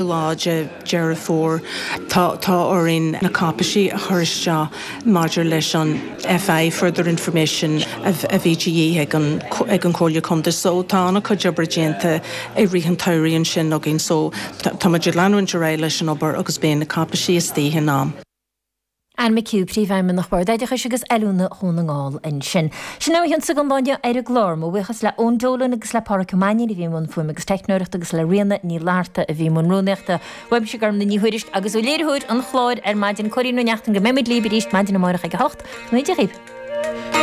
Lá de Deireadh Fómhair tá tá orainn na cáipeisí a chur isteach maidir leis an FI, Further Information, a bhí de dhíth ag an ag an Chomhairle Contae. So tá an-chuid oibre déanta i rith an tsamhraidh ansin againn so tá muid ag leanúint ar aghaidh leis an obair agus beidh na cáipeisí istigh in am. Anne McHugh, Príomhfheidhmeannach Bhord Oideachais agus Oiliúna Dhún na nGall ansin. Sin é ó chionnsa don lá inniu ar an gclár. Mo bhuíochas le Eoin Dolan agus le Páraic Ó Mainnín a bhí i mbun fuaime agus teicneoireachta agus le Ríona Ní Fhlatharta a bhí i mbun rúnaíochta. Uaimse Gormlaith Ní Thuairisg agus ó léiritheoir an chláir ar maidin, Cóilín Ó Neachtain go mbeidh muid libh arís maidin amárach ag 8. Go ndéana Dia dhaoibh.